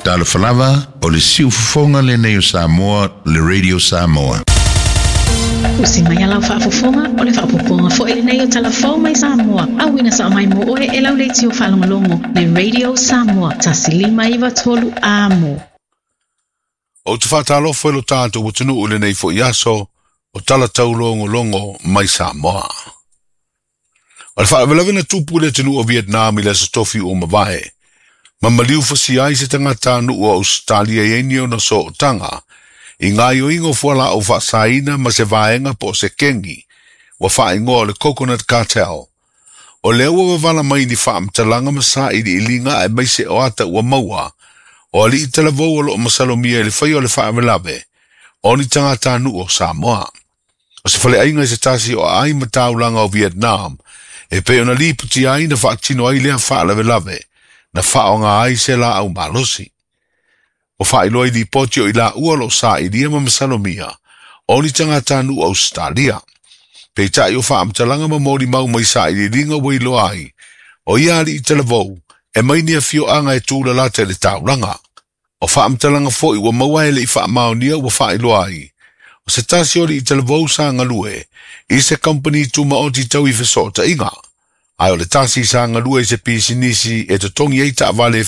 Talofa lava, o le siufofoga lenei o Samoa, le Radio Samoa. Usi mai a lau faafofoga, o le faaopoopoga foi lenei o Tala Fou mai Samoa, auina sao mai mo oe e lau leitio faalogologo, le Radio Samoa, 1593 Amo. Ou te faatalofa i lo tatou atunuu i lenei foi aso o tala taulogologo mai Samoa. O le faalavelave na tupu i le atunuu o Vietnam i le Aso Tofi ua mavae, ma maliu fasia ai se tagatanuu o Ausetalia e i ai ni ona sootaga i gaoioiga o fualaau faasaina ma se vaega po o se kengi ua faaigoa o le Coconut Cartel. O lea ua vavala mai ni faamatalaga ma sailiiliga aemaise o ata ua maua o alii talavou o lo o masalomia i le faia o le faalavelave o ni tagatanuu o Samoa. O se faleaiga i se tasi o aai ma taulaga o Vietnam e pei ona lipotia ai na faatino ai lea faalavelave na faaaoga ai se laau malosi. Ua faailoa i lipoti o i laua o lo o sailia ma masalomia o ni tagatanuu o Ausetalia. Peitai o faamatalaga ma molimau mai sailiiliga ua iloa ai o ia alii talavou e mai ni afioaga e tulalata i le taulaga. O faamatalaga foi ua maua e le i faamaonia ua faailoa ai o se tasi o alii talavou sa galue i se kamupani tumaoti tau i fesootaiga, ae o le tasi sa galue i se pisinisi e totogi ai taavale e